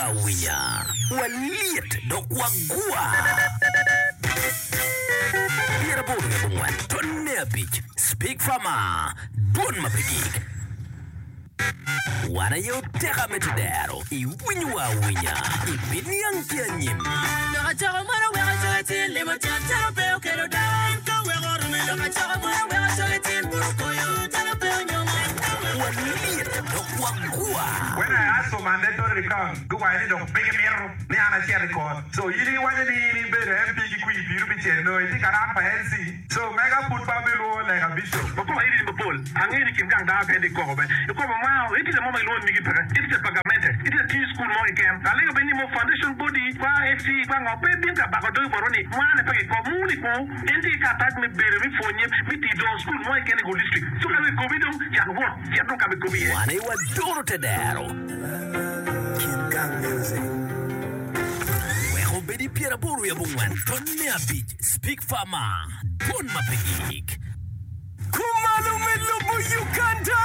Iwinyowa awinya, walyet dok wagwa. 84 tonne abic Speak Farmer, Dwon ma pe gik. Wan aye oteka me tedero. Iwinyowa awinya, ibiniang ki anyim. Lok acoko mono weko acoga cin limo cat calo pe okelo dang ka weko orome Lok acoko mono weko acoga cin buto koyo calo pe onyomo Walyet dok wagwa. When I ask for mandatory recount, guwaco ni dong pe gimito ni an acit i kot. So in iwaco ni in ibedo MP ki kwir piru pi cel nongo itye ka ran pa LC. So mega pud pe abilwongo lega bishop. Wapoko iri mapol. Angeyo ni kin gang dano kene tye koko be. I kwo pa mwaka, itye mo ma gilwongo ni migi peke. Itye pa gamente. Itye tiyo i cukul mo keken. Alego bene ni mo foundation body kwa SC kwa ngo pe bin ka bako dogi botwa ni mwane pe kiko. Muni ku en tye ki karatac me bedo me pwonye me tiyo dongo cukul mo keken i Gulu district. So ka gikobi dong cak wot cit dong ka ma ikobi iye. Wan aye wadoro te dero. Wek obed i 84 tonne abic Speak Farmer, dwon ma pe gik. Kumalo me lobo Uganda!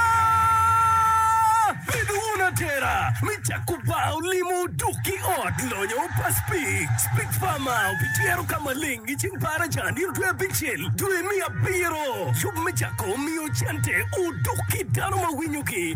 Bed wun atera me cako bar olimo duk ki ot lonyo pa Speak. Speak Farmer obityero ka maleng i ceng baraja nino dwe abicel dwe me abiro. Yub me cako miyo cente oduk ki dano ma winyogi.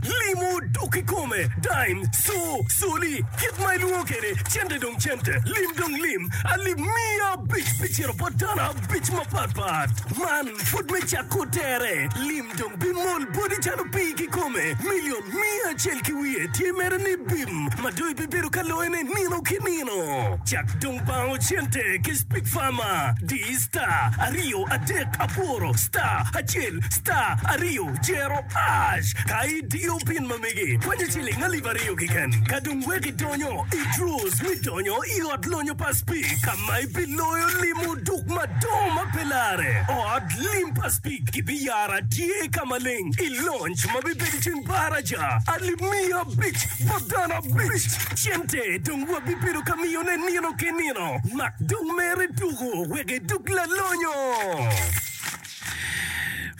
Limo oduk kikome, dime, co, coli, kit ma ilwongo kwede, cente dong cente, lim dong lim, alip miya abic pi cito bot dano abic mapatpat. Man pud me cako tere, lim dong bimol boti calo pii kikome. Milion miya acel ki wiye tye mere ni bim ma dong ibibedo ka loyone nino ki nino. Cak dong bango cente ki Speak Farmer, di star aryo adek aboro star acel star aryo jero ash ka idiyo pin ma megi kwanyo ciling alip aryo keken ka dong wek idonyo i draws me donyo i ot lonyo pa Speak ka ma ibiloyo limo duk madongo ma pe lare. Ot lim pa Speak kibiyaro atye ka maleng i lonc ma bibedo i ceng baraja alip miya abic bot dano abic. Cente dong wabibedo ka miyone nino ki nino. Mak dong mere tuko wek idug lalonyo.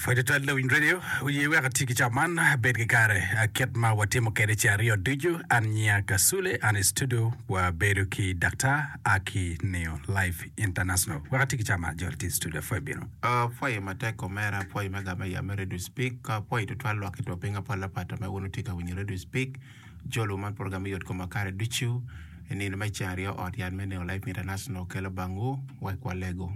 Pwod tutwal lawiny radio oye wek ati ki cawa man abed ki kare kit ma watimo kwede ce aryo ducu an nyinga Kasule an i studio wabedo ki daktar Aki Neo Life International wek ati ki cawa man jol tye i studio apwoyo bino. Apwoyo matek omera, apwoyo me gamo ya me Radio Speak, apwoyo tutwal lwak ki two piny apol apat ma wun wutye ka winyo Radio Speak. Jolo man program me yot kom ma kare ducu i nino me ceng aryo ot yat me Neo Life International kelo bangwu wek walegu.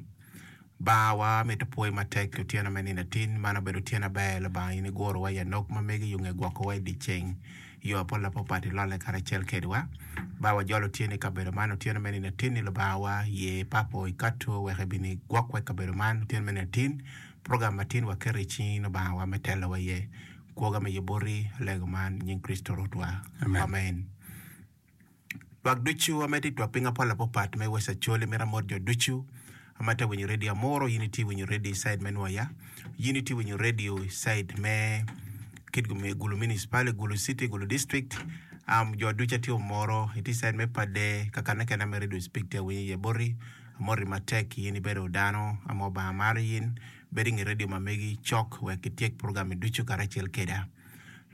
Lubanga wa mito pwoyi matek i otyeno me nino atin. Man obedo otyeno aber. Lubanga in igurowa i anok ma megi yo nge gwokowa i dyeceng. Yo apol apapat ilolle karacel kedwa. Ba wajolo otyeno i kabedo man otyeno me nino atin-ni Lubanga wa ye papo ikato wek ibin igwokwa i kabedo man otyeno me nino atin. Program matin waketo i cingi Lubanga wa me telowa iye. Kwoga me yuboti alego man i nying Kricito Rwotwa. Amen. Amen. Lwak ducu ma tye i twak piny apol apapat me West Acholi mito amot jo ducu ma tye ka winyo redio Amuru in itye winyo redio i cide me Nwoya in itye winyo redio i cide me Kitgum Gulu Municipality Gulu City Gulu District um, jo ducu atye omoro itye i cide me Pade kakane kene me redio speak tye awinyo iye boti amoti matek in ibedo dano ama Obanga maro in bedo inge redio ma megi cok wek ityek program ducu karacel keda.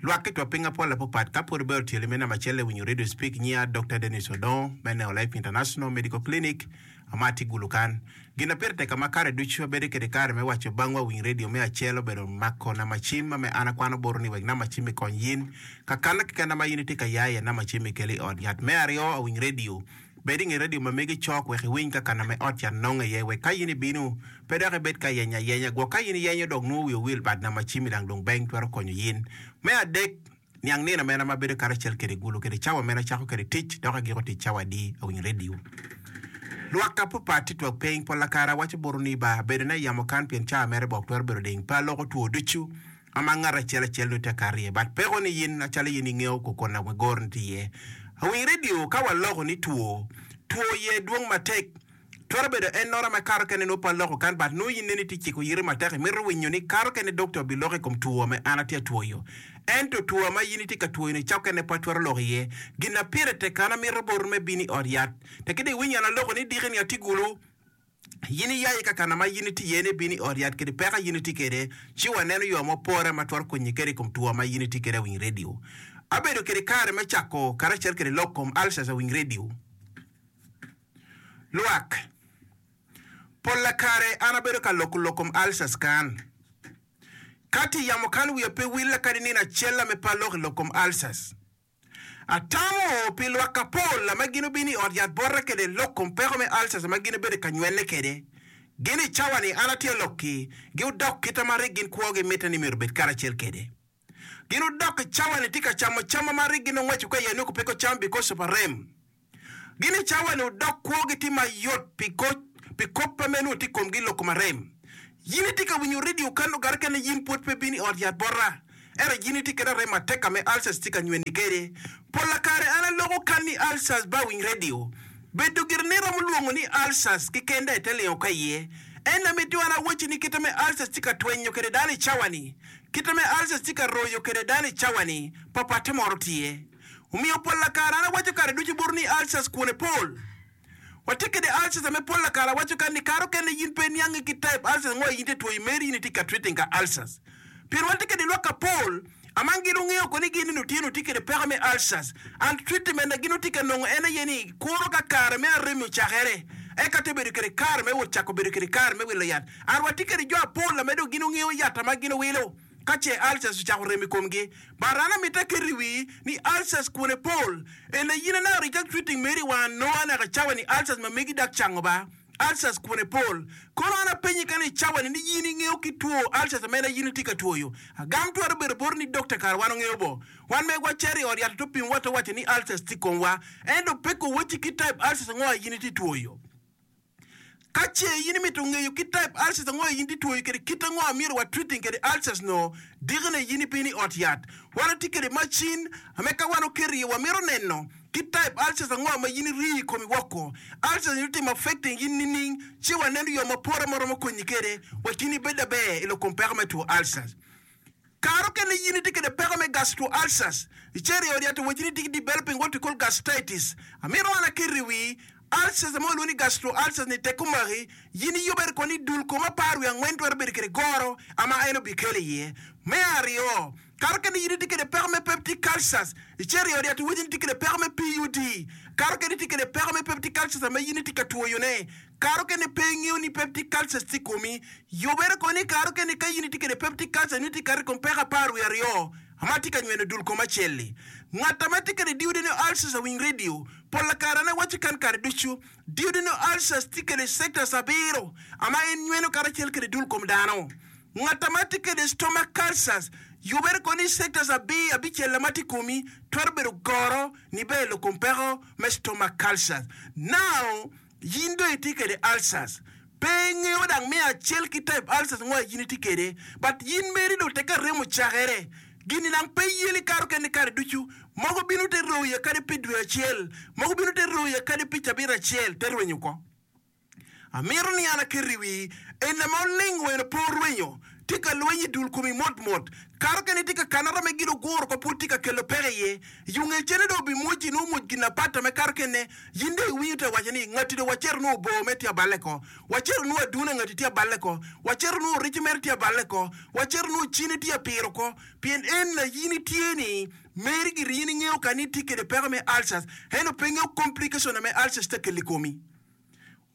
Lwak ki two piny apol apapat ka pwod obedo tyelo me namba acel i winyo Radio Speak nyiya Dokta Dennis Odongo me Neo Life International Medical Clinic ama atye Gulu kan. Gin na pire tek ama kare ducu abedo kede kare me waco bangwa winy radio me acel obedo mako namba cim ame an akwano botu ni wek namba cim i kony yin ka kana keken ama yin itye ka ya iye namba cim i kelo i ot yat. Me aryo awiny radio Bed i nge redio ma megi cok wek iwiny ka kana me ot cat nonge iye wek ka in ibino, pe dok ibed ka yenyo ayenya. Gwok ka in iyenyo dok nongo wi owil but namba cim i lang dong beng twero konyo yin. Me adek, niang nino mene ma abedo karacel kede gulu kede cawa mene acako kede tic dok agiko tic cawa adi awinyo redio. Lwak ka papat tye twak piny pol lakara awaco botu ni ba bedo ne yamo kan pien cawa mere bok twero bedo ding pe aloko two ducu ama ngat acel acel nongo tye ka kato iye but peko ni yin acalo yin ingeyo kokona wa goro ni tye iye. Awiny radio ka waloko ni two, two iye dwong matek twero bedo en nota ma kato kene nongo pe aloko kan but nongo yin neni itye ciko yiti matek imito winyo ni kato kene doctor obiloko i kom two ma an atye atwoyo ento two ma yin itye ka twoyo ni cokene pe atwero loko iye. Gin na pire tek kan amito boti me bino i ot yat tek ki dong iwinyo an aloko ni diki ni atye gulu. In iya i kakana ma in itye iye ni ibino i ot yat kede peko a in itye kede, ci waneno yo ma opore ma twero konyi kede i kom two ma in itye kede awiny radio. Abedo kede kare me cako karacel kede lok kom ulcers awiny radio. Lwak, Polla kare an abedo ka loko lok kom ulcers kan. Ka tye yamo kan wiya pe willa kadi nino acel ame pe aloko i lok kom ulcers. Atamo pi lwak apol ma gin obino i ot yat bota kede lok kom peko me ulcers ma gin obedo ka nywene kede. Gin i cawa ni an atye lok-ki, gi odok kita ma rik gin kwo gi mitte ni myero obed karacel kede. Gin odok i cawa ni tye ka camo cam ma rik gin ongweco ka iye nongo pe kocam because of arem. Gin i cawa ni odok kwogi tye mayot pi pi kop pa meno tye i komgi lok kom arem. Yin itye ka winyo radio kano gare kene yin pwod pe bino i ot yat bota. Ento yin itye kede arem matek ka me ulcers tye ka nyweni kede. Pola kare an aloko kan ni ulcers ba winy radio. Bedo gire ni romo lwongo ni ulcers keken da ite lingo ka iye. En amito an awacci ni kite me ulcers tye ka twenyo kede dano i cawa ni. Kite me ulcers tye ka royo kede dano i cawa ni, papatte moro tye. Omiyo polla kare an awaco kare ducu boti ni ulcers kwone pol. Watye kede ulcers ame polla kare awaco kany ni kare okene yin pe iniangi ki type ulcers ango in itye two i meri yin itye ka treating ka ulcers. Pien watye kede lwak apol aman gin ongeyo ko ni gin nino tye nongo tye kede peko me ulcers and treatment na gin otye ka nongo en aye ni kuro ka kare me arem ocakere eka te bedo kede kare me wot cako bedo kede kare me wilo yat. And watye kede jo apol ame dong gin ongeyo yat ama gin owilo. Ka ce ulcers ocako rem i komgi, but an amito aket i wii ni ulcers kwone pol. Ene yin anaka reject treating meri wa anonga naka cawa ni ulcers ma megi dak cango ba. Ulcers kwone pol. Kono an apenyi kany i cawa ni ni yin ingeyo ki two ulcers amene yin itye ka twoyo. Agam twero bedo boti ni doctor kara wan ongeyo bo. Wan megwa cito i ot yat to pim wa to waco ni ulcers tye i komwa. Ento pe ko wacci ki type ulcers ango a yin itye twoyo. Ka ce in imito ngeyo kit type ulcers ango in itye twoyo kwede, kit ango amyero wa treating kwede ulcers no, dikine in ibino i ot yat. Wan watye kwede macin ame ka wan oketo iye wamito neno kit type ulcers ango ma in iriyo i komi woko. Ulcers ni otimo affecting in nining? Ci waneno yo ma pore ma romo konyi kwede wek in ibed aber i lok kom peko me two ulcers. Kare okene in itye kwede peko me gastro ulcers, icito i od yat owacci ni itye ki developing what we call gastritis. Amito an aket i wii, ulcers ma walwongo ni gastro ulcers ni tek omaki, in iyubere kono ni dul kom 14 twero bedo kwede goro ama en obikelo iye. Me aryo, kare okene in itye kwede peko me peptic ulcers, icito i od yat owacci ni itye kwede peko me PUD. Kare okene itye kwede peko me peptic ulcers ama in itye ka twoyone. Kare okene pe ingeyo ni peptic ulcers tye i komi. Yubere kono ni kare okene ka in itye kwede peptic ulcer nyo itye kato i kom peko 12 ma tye ka nyweno dul kom acel-li. Ngat ma tye kwede duodenal ulcers awiny radio pol kare en awaco kan kare ducu. Duodenal ulcers tye kwede sectors abiro ma en nyweno karacel kwede dul kom dano. Ngat ma tye kwede stomach ulcers yubere kono ni sectors abicel ma tye i komi twero bedo goro niber i kom peko me stomach ulcers. Now, Yin dong itye kede ulcers. Pe ingeyo dang me acel ki type ulcers ngo yin itye kede. But yin meri dong teke remo ocakere. Gini dang pe yeli kato kene kare ducu. Mogo bino te royi kadi pi dwe acel. Mogo bino te royi kadi pi cabit acel te rwenyo oko. Amito ni an aket i wii ene ma oling weno pe orwenyo. Tye ka lweny i dul komi mot mot. Kato kene tye ka kanata me gin oguro ko pud tye ka kelo peko iye. Yunge cene dong obimwoci nongo omwoc gin apata me kato kene. Yin dong iwinyo te waco ni, Ngati dong wacito nongo obor mere tye aballe ko. Wacito nongo adune ngati tye aballe ko. Wacito nongo orico mere tye aballe ko. Wacito nongo cine tye apiro ko. Pien en la yin itye ni meri giri yin ingeyo ka ni itye kede peko me ulcers ento pe ingeyo complication me ulcers tye kelo i komi.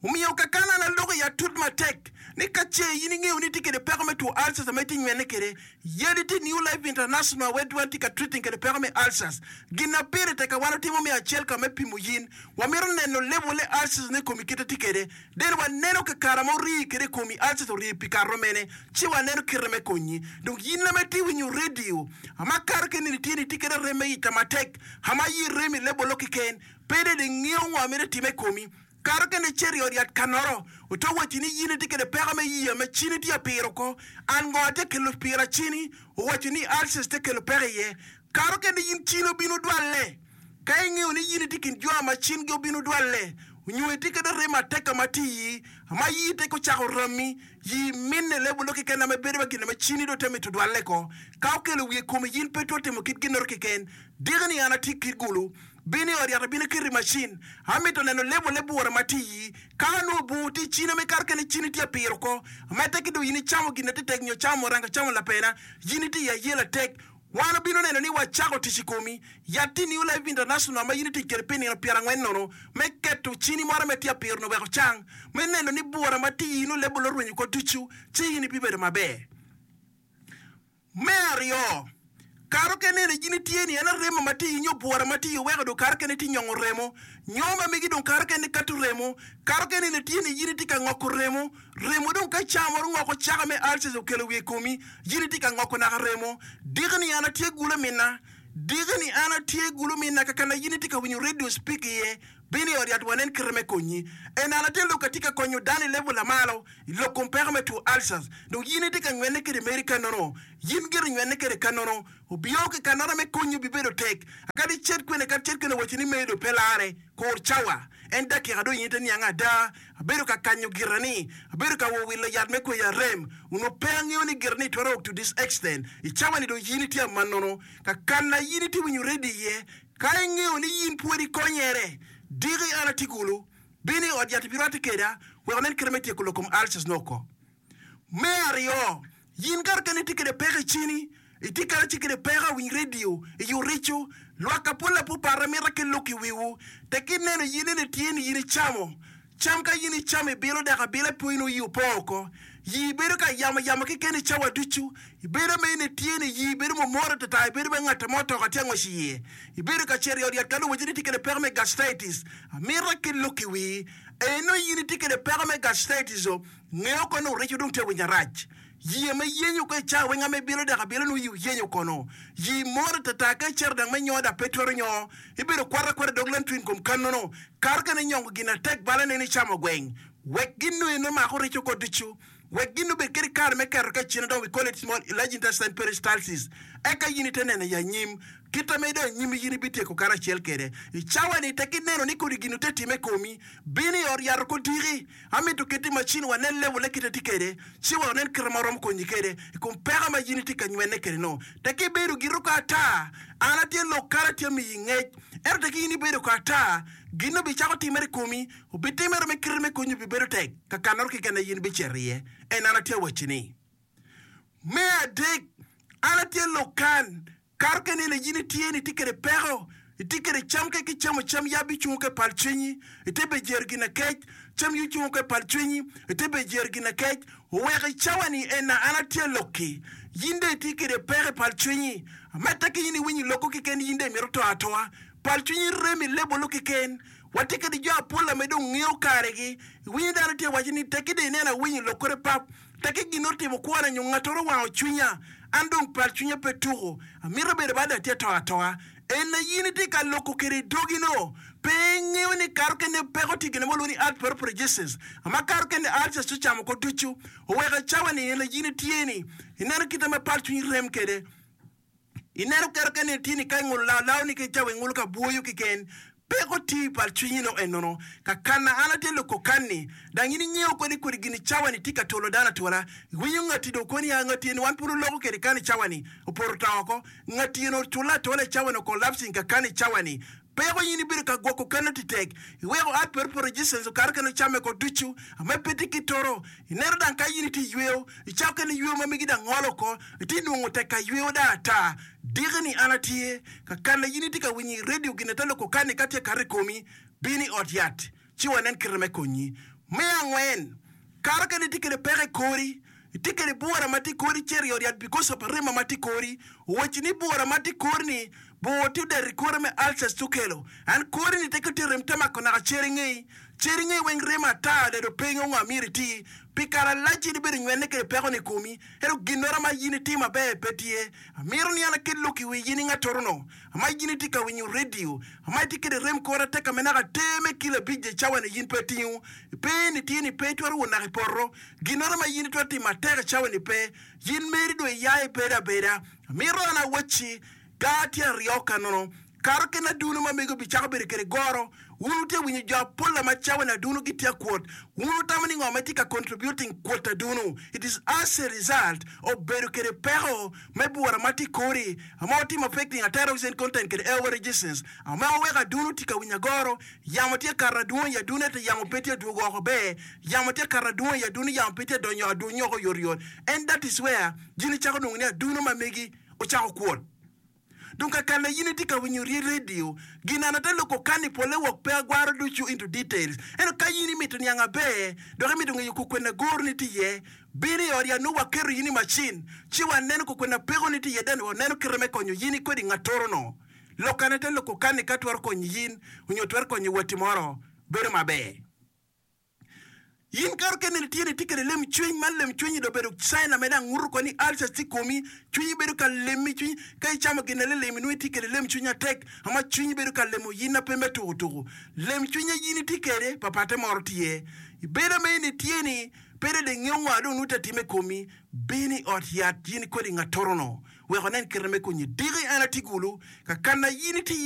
Omiyo kakana an aloko i atut matek ni ka ce in ingeyo ni itye kede peko me two ulcers ma itye nywene kede, yadi tye New Life International where wan tye ka treating kede peko me ulcers. Gin na pire tek ka wan otimo me acel ka me pimo yin, wamito neno level le ulcers ne komi kite tye kede, then waneno ka kara ma orii kede komi ulcers orii pi kare romene, ci waneno kite me konyi. Dong yin lama itye winyo radio ama kare keni ni tye ni itye kede rem me ica matek ama yi rem i level lo keken, pe dong ingeyo ngo amito time i komi. Kare kene icito i ot yat kanoro, oto wacci ni yin itye kede peko me yiya ma cini tye apiro oko. An ngo atye kelo pira cini? Owaco ni ulcers tye kelo peko iye. Kare kene yin cini obino dwalle. Ka ingeyo ni yin itye kin jo ma cingi obino dwalle, onyo itye kede remo ateka ma tye iyi, ma iyi teko ocako rami, yi minne lebolo keken ame bedo wa gin ma cini dong te mito dwalle ko. Ka okelo wiye komi yin pe itwero timo kit ginnoro keken. Diki ni an atye ki gulu. Bin i ot yat abino keto i macin. Amito neno lebo le bura ma tye iyi. Ka anongo bur tye i cina me kato kene cini tye apiro oko. Amedde ki dong in icamo gin atetek nyo camo muranga camo lapena. Yin itye i ayela tek. Wan obino neno ni wacako tic i komi. Yat-ti New Life International ma in itic kwede pi nino pyerangwen nono me keto cini moro me tye apiro-ni wek ocang, me neno ni bura ma tye i in olebol orwenyo oko ducu, ci in ibibedo maber. Me aryo, kare okene ni in itye ni en aremo ma tye i nyo bura ma tye i weko dong kare okene itye nyongo remo, nyo ma megi dong kare okene kato remo, kare okene ni itye ni in itye ka ngoko remo, remo dong ka caa moro ngoko caka me ulcers okelo wiye i komi, in itye ka ngoko naka remo. Diki ni an atye gulu minna, diki ni an atye gulu minna kakana in itye ka winyo radio speak iye, Bin i ot yat wanen kite me konyi. En an atye lok atye ka konyo dano i level lamalo i lok kom peko me two ulcers. Dong yin itye ka nywene kede meri kanono. Yin gire nywene kede kanono. Obio ki kanono me konyi obibedo tek. Akadi icet kwene kadi cet kwene waci ni meri dong pe lare. Kur cawa. En dakika dong in ite niang ada. Abedo ka kanyo gira ni. Abedo ka wo wilo yat me kweyo arem. Onongo pe angeyo ni gira ni twero ok to this extent. I cawa ni dong yin itye amanono. Kakana yin itye winyo ready iye. Ka ingeyo ni in pwod ikonyere, diki an atye kulu, bin i ot yat ibirwatte keda wek onen kite me tyeko lok kom ulcers ni oko. Me aryo, in kare kene itye kede peko i cini, itye kare ci kede peko awiny radio, i orico, lwak apol apupat amito akel lok i wiwu, tek ineno in ene tye ni in icamo Cam ka in icamo ibilo dok abila ipwonyo nongo yii opong oko. Yii bedo ka yamo yamo keken i cawa ducu. Ibedo ma in itye ni yii bedo mumoro atata, ibedo ma ngat mo otoka tye angwec iye. Ibedo ka cito i ot yat ka luwacci ni itye kwede peko me gastritis. Amito akel lok i wii. Eno in itye kwede peko me gastritis o, ngeyo kono ni orico dong tye winyo arac. Yii ma iyenyo ko i cawa weng ame ibilo dok abila nongo yii oyenyo kono. Yii moro atata ka icito dang me nyo dok pe twero nyo. Ibedo kwata akwata dog lantwin kom kanono. Kare kene inyongo gin atek bala neni icamo gweng. Wek gin nu eno mako reco oko ducu. Wek gin obed kede kare me keto ka icine dong we call it small large intestine peristalsis. Eka yin ite neno i anyim. Kita ma idong anyim yin ibityeko karacel kede. I cawa ni tek ineno ni kodi gin ote time komi, bin i ot yat oko diki. Amito keti macin wanen level ne kite tye kede, ci wa onen kite ma oromo konyi kede i kom peko ma yin itye ka nywene kede no. Tek ibedo giri oko ata, an atye lok kara atye miyi ngec. Ento tek in ibedo oko ata, gin obicako timere i komi, obitimere me kite me konyi obibedo tek, ka kanoro keken aye in ibicito iye. En an atye awacci ni. Me adek, an atye lok kan, Kare ka ineno in itye ni itye kwede peko, itye kwede cam ka kicamo cam yab icungo ka i pal cwinyi, ite be jero gin akec, cam yi ocungo ka i pal cwinyi, ite be jero gin akec, oweko i cawa ni ena an atye alokki, yin dong itye kwede peko i pal cwinyi, amedde ki in iwinyo lokko keken yin dong imito to atoa, pal cwinyi rem i lebolo keken, watye kwede jo apol ame dong ngeyo karegi, iwinyo dano tye waco ni tekki dong ineno awinyo lokkore pap, Tekki gin otimo kwona nyo ngattoro owango cwinya, an dong pal cwinya pe tuko, amito bedo bada atye ato atoa. En aye in itye ka loko kwede i dogi no, pe ingeyo ni kare okene peko tye gin ma walwongo ni arthroparesis, ma kare okene ulcers ci ocamo oko ducu, oweko i cawa ni en aye in itye ni ineno kite ma pal cwinyi rem kwede. Ineno kero kene tye ni ka ingulo lao lao ni ki cawa ingulo ka bwoyo kiken peko tye i pal cwinyi no enono ka kana an atye loko kanni dang in ingeyo kodi kodi gini cawa ni tye ka tolo dano atola iwinyo ngati do koni ya ngati eni wan pud oloko kede kani cawa ni opoto to oko ngati eni oculle atola i cawa ni okolapsing ka kani cawa ni Peko in ibedo ka gwoko keno titek, iweko art poto resistance okato keno came ko ducu ame pe tye ki toro. Ineno dang ka in itye iyweyo, icako keno iyweyo ma megi dang ngolo oko, itye nongo tek ka iyweyo dang ata. Diki ni an atye ka kana in itye ka winyo i radio gin ate loko kani ka tye kato i komi, bin i ot yat ci wanen kite me konyi. Me angwen, kato kene itye kede peko i kori, itye kede bura ma tye i kori cito i ot yat because of arema ma tye i kori. Owacci ni bura ma tye i kori ni bur tye odeto i kore me ulcers tye okelo. And kori ni teke tye rem te mako naka cer ingeyi. Cer ingeyi weng remo ata dado pe ingeyo ngo amyero iti. Pi kare alac in ibedo nywene kede peko ni i komi. Ento ginoro ma in itimo maber pe tye. Amito ni an aket lok i wi in i ngatoro no. Ama in itye ka winyo radio, ama itye kede rem kore atek ame naka ter me kilo abic je cawa ni yin pe itingo. Pe ni tye ni pe itwero wot naka i poto. Ginoro ma yin itwero timo atek i cawa ni pe. Yin meri dong iya ibedo abeda. Amito an awacci, Gar tye aryo ka nono. Kato kene aduno ma mego bicako bedo kede goro. Wun wutye winyo jo apola ma cawa ni aduno gitye akwot. Wun wutamo ni ngo ma itye ka contributing kwot aduno? It is as a result of bedo kede peko me bura ma tye ikori ama watimo affecting atera oxygen content kede airway resistance ama weko aduno tye ka winyo agoro. Yamo tye kato adwong i aduno ento yamo pe tye adwogo oko ber. Yamo tye kato adwong i aduno yamo pe tye adonyo adwonyo oko oyotoyot. And that is where jini cako nongo ni aduno ma megi ocako kwot. Dong ka kana in itye ka winyo rye radio, gin an ate loko kani pole wok pe agwaro ducu into details. Ento ka in imito niang aber dok imito ngeyo kukwena goro ni tye iye, bin i ot yat nongo waketo in i macin ci waneno kukwena peko ni tye iye then waneno kite me konyo in kodi ngatoro no. Lok an ate loko kani ka twero konyo in onyo twero konyo watti moro bedo maber. In kare okene ni tye ni itye kede lem cwiny, man lem cwiny dong obedo sign ame dang nguto ko ni ulcers tye i komi, cwinyi bedo ka lemi, cwinyi ka icamo gin lilim inongo itye kede lem cwiny atek ama cwinyi bedo ka lemo yin na pe me tuku tuku. Lem cwiny a yin itye kede papatte moro tye. Ibedo ame in itye ni pe dong ingeyo ngo a dong nongo tye atime i komi, bin i ot yat yin kodi ngatoro no wek onen kite me konyi. Diki an atye gulu ka kana yin itye iye.